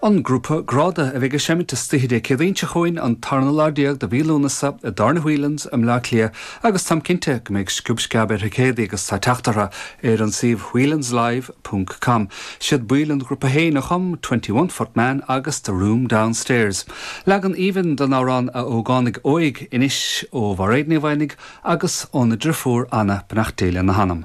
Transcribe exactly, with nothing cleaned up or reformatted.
An grúpa Gráda a bheidh ag seimint istoíche Dé Céadaoin seo chugainn an tarna lá déag de mhí Lúnasa i dTábhairne Whelan's i mBleá Cliath agus táim cinnte go mbeidh sciob sceab ar thicéadaí agus tá teacht orthu ar an suíomh whelanslive.com. Siad baill an ghrúpa féin a chum Twenty One Foot Man agus The Room Downstairs. Leagan aoibhinn den amhrán A Ógánaigh Óig anois ó Mhairéad Ní Mhaonaigh agus óna deirfiúr Anna beannacht Dé lena hanam.